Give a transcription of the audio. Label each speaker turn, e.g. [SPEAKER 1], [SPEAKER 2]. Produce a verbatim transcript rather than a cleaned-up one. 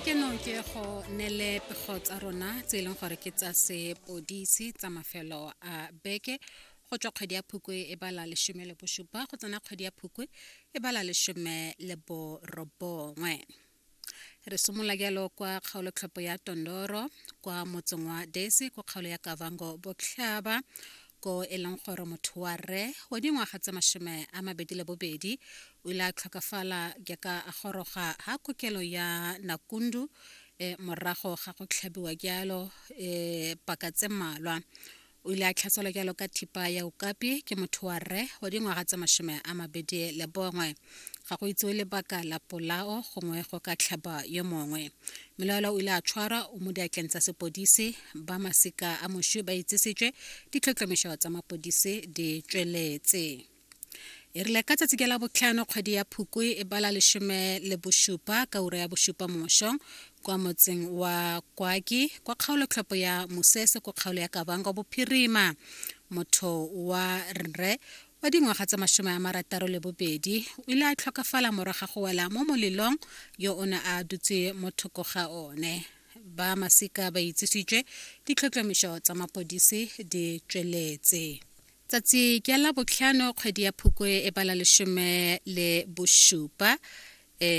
[SPEAKER 1] Keno ke go nele pego tsa rona tse e leng gore ke tsa sepodisi tsa mafelo a beke go tswa kgwedi ya Phukwi e bala lesome le bosupa go tsena kgwedi ya Phukwi e bala lesome le borobongwe. Re simolola jalo kwa kgaolotlhopho ya Tondoro kwa motseng wa Desi kwa kgaolo ya Kavango Botlhaba, ko e leng gore motho wa rre wa dingwaga tse masome a mabedi le bobedi o ile a tlhokafala jaaka a goroga ha kokelo ya Nakundu e morago ga go tlhabiwa jalo e paka tse mmalwa. O ile a tlhaselwa jalo ka thipa ya okapi ke motho wa rre wa dingwaga tse masome a mabedi le bongwe. Ga go itsewe lebaka la polao gongwe go ka tlhaba yo mongwe. Mmelaelwa o ile a tshwarwa, o mo diatleng tsa sepodisi. Ba masika a moswi ba itsisitswe, ditlhotlhomišo tsa mapodisi di tsweletse. E rile ka tsatsi ke la botlhano kgwedi ya Phukwi e bala lesome le bosupa ka ura ya bosupa mo mosong kwa motseng wa Kwaki kwa kgaolotlhopho ya Mosese kwa kgaolo ya Kavango Bophirima, motho wa rre wa dingwaga tse masome a marataro le bobedi o ile a tlhokafala morago ga go wela mo molelong yo o ne a dutse mo thoko ga one. Ba masika ba itsisitswe, ditlhotlhomišo tsa mapodisi di tsweletse. Tsatsi ke la botlhano kgwedi ya Phukwi e bala lesome le bosupa e